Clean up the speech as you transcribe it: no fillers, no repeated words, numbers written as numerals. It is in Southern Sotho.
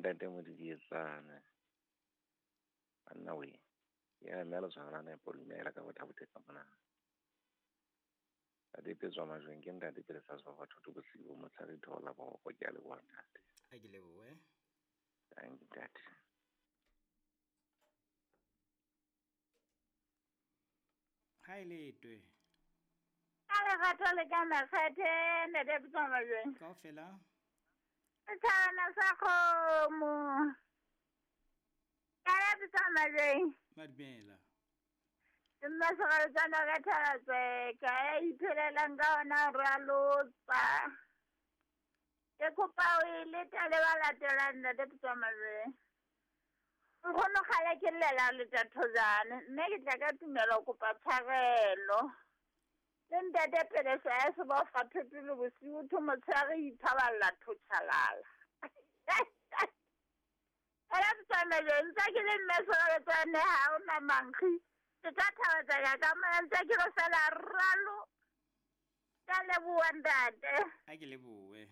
Ntate Modidietsane. Banna we. Ya mme le tshwara nepo dumela ka botha ka mona. Ntate Petswa Majweng ke ntate pele sa tswa batho to bosigo motshare thola ba go ke a leboha ntate. A ke lebohe. Thank you ntate. Ha e letwe. Ka lerato le ka makgethe ntate Petswa Majweng. Kaofela. Setjhabana sa kgomo. Ka la Petswa Majweng. Madumela. Ke mma Seraletsana ka Thalatseka ya iphelelang ka ona ralotsa. Ke kopa o e leta le ba latelang ntate Petswa Majweng. Nkgono kgale ke llela leta thojane mme ke tla ka tumelo ho kopa tshwarelo. Le ntate Pelesa ya sebofa thoto le bosiu tho motshehare ithaballa thotjhalala. Ela Petswa Majweng ntse ke le mme Seraletsane ha o na mankgi. Ke tla thabatseka ka mona ntse ke re fela ralo. Ka leboha ntate. A ke lebohe.